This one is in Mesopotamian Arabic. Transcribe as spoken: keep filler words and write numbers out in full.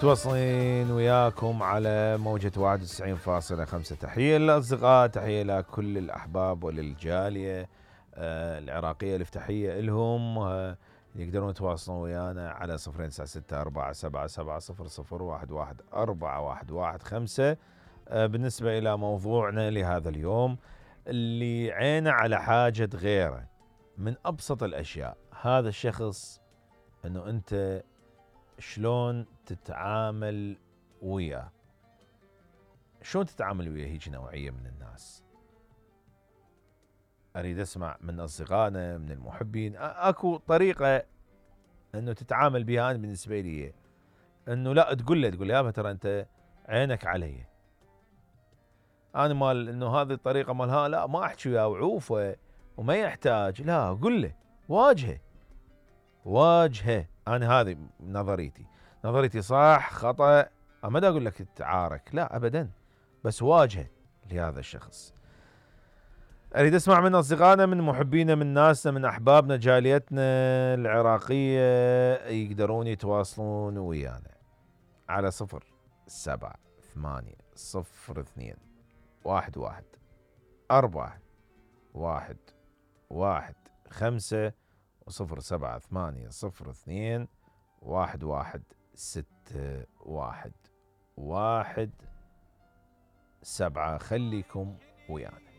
متواصلين وياكم على موجة واحد وتسعين فاصلة خمسة. تحية للأصدقاء، تحية لكل الأحباب وللجالية آه العراقية، الافتحية إلهم. آه يقدرون يتواصلون ويانا على صفرين تسعة ستة أربعة سبعة سبعة صفر صفر واحد واحد أربعة واحد واحد خمسة. آه بالنسبة إلى موضوعنا لهذا اليوم، اللي عينه على حاجة غيره من أبسط الأشياء، هذا الشخص أنه أنت شلون تتعامل وياه. شلون تتعامل وياه هيج نوعية من الناس؟ أريد أسمع من أصدقائنا، من المحبين، أكو طريقة أنه تتعامل بها. أنا بالنسبة لي أنه لا تقول له تقول له يابا ترى أنت عينك علي. أنا مال أنه هذه الطريقة مالها لا، ما أحكي وياه وعوفه وما يحتاج، لا قل له، واجهه واجهه. أنا هذه نظريتي، نظريتي صح خطأ ما دا أقول لك تتعارك، لا أبدا، بس واجهه لهذا الشخص. أريد أسمع من أصدقائنا، من محبينا، من ناسنا، من أحبابنا، جاليتنا العراقية، يقدرون يتواصلون ويانا على صفر سبعة ثمانية صفر اثنين واحد واحد أربعة واحد واحد خمسة وصفر سبعة ثمانية صفر اثنين واحد واحد ستة واحد واحد سبعة. خليكم ويانا.